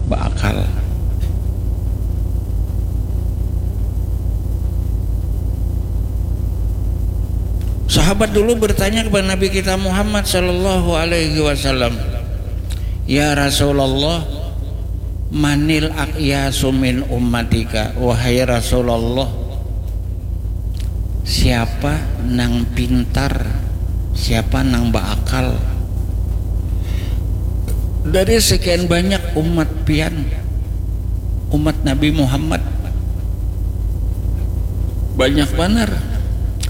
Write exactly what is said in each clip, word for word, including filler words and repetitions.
Beakal. Sahabat dulu bertanya kepada Nabi kita Muhammad sallallahu alaihi wasallam, "Ya Rasulullah, manil aqyasu min ummatika?" Wahai Rasulullah, siapa nang pintar, siapa nang beakal dari sekian banyak umat pian, umat Nabi Muhammad? Banyak banar.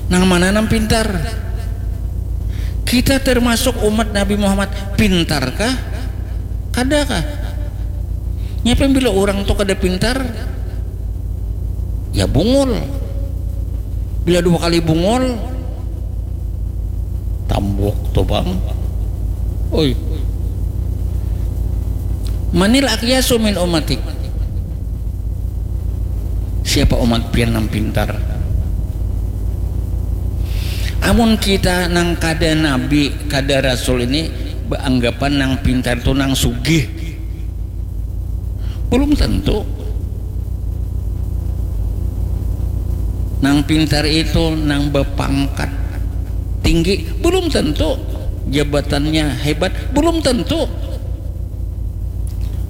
Nang mana nang pintar? Kita termasuk umat Nabi Muhammad. Pintarkah? Kadakah? Nyapa yang bila orang tu kada pintar? Ya bungul. Bila dua kali bungul, tambuk tu bang. Oi. Manil akyasu min umatik. Siapa umat pian nang pintar? Amun kita nang kada nabi, kada rasul ini beanggapan nang pintar tu nang sugih. Belum tentu. Nang pintar itu nang bepangkat tinggi, belum tentu. Jabatannya hebat, belum tentu.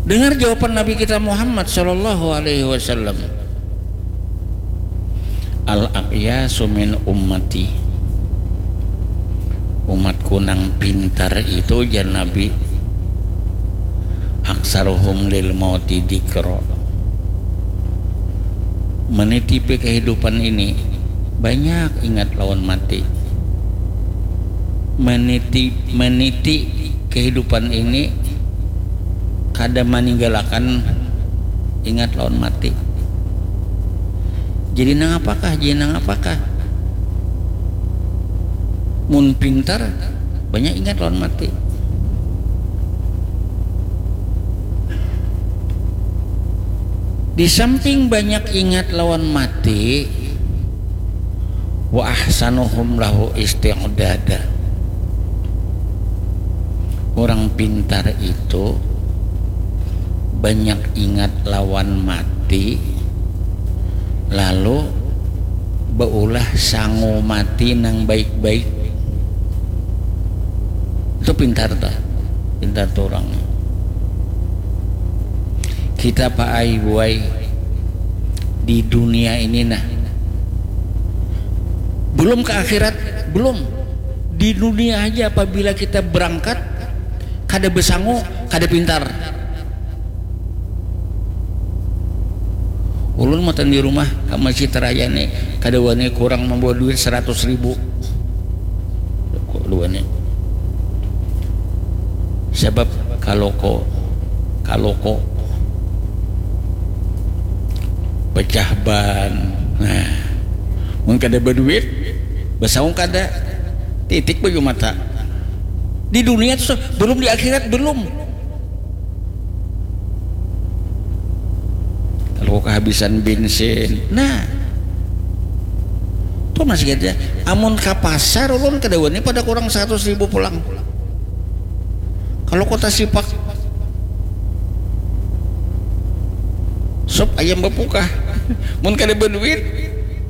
Dengar jawaban Nabi kita Muhammad sallallahu alaihi wasallam. Al aqyasu min ummati. Umatku nang pintar itu, jar Nabi, aksaruhum lil mauti dikro. Menitipi kehidupan ini banyak ingat lawan mati. Meniti meniti kehidupan ini kada maninggalakan ingat lawan mati. Jadi nang apakah? Jadi nang apakah? Mun pintar, banyak ingat lawan mati. Di samping banyak ingat lawan mati, wa ahsanuhum lahu isti'dada. Orang pintar itu banyak ingat lawan mati, lalu beulah sangu mati nang baik-baik. Itu pintar tuh, pintar tuh orang. Kita paai buai di dunia ini nah, belum ke akhirat, belum. Di dunia aja apabila kita berangkat kada besangu, kada pintar. Ulun matan di rumah ka Masjid Raya ni kada wani kurang membawa duit seratus ribu. Kada wani. Sebab kaloko, kaloko pecah ban. Nah, mun kada berduit, besaung kada, titik baju mata. Di dunia tu belum, di akhirat belum. Kalau kehabisan bensin, nah, tuh masih aja. Amun ke pasar ulun kada wani pada kurang seratus ribu pulang. Kalau kota sipak, sop ayam bapukah. Mun kada berduit,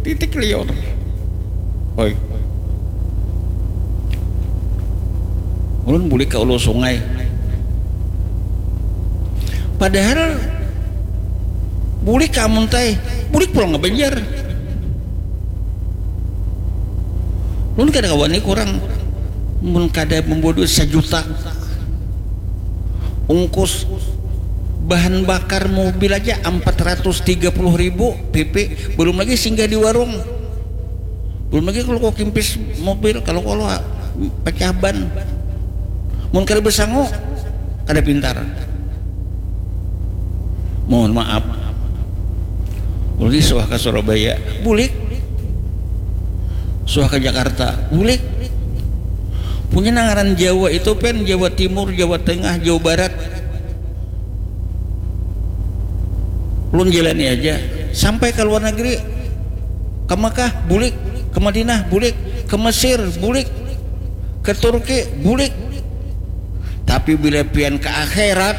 titik liur. Oi. Ulun bulik ke ulu sungai. Padahal bulik ke Amuntai, bulik pulang ke Banjar. Ulun kada kawan ni kurang. Mun kada membawa duit sajuta, ungkus bahan bakar mobil aja empat ratus tiga puluh ribu P P, belum lagi singgah di warung. Belum lagi kalau kau kimpis mobil, kalau kalau pecah ban. Mun kada besangu, kada pintar. Mohon maaf. Ulih suah ke Surabaya, bulik. Suah ke Jakarta, bulik. Punya nangaran Jawa itu pen Jawa Timur, Jawa Tengah, Jawa Barat. Ulun jalani aja sampai ke luar negeri, ke Mekah bulik, ke Madinah bulik, ke Mesir bulik, ke Turki bulik. Tapi bila pian ke akhirat,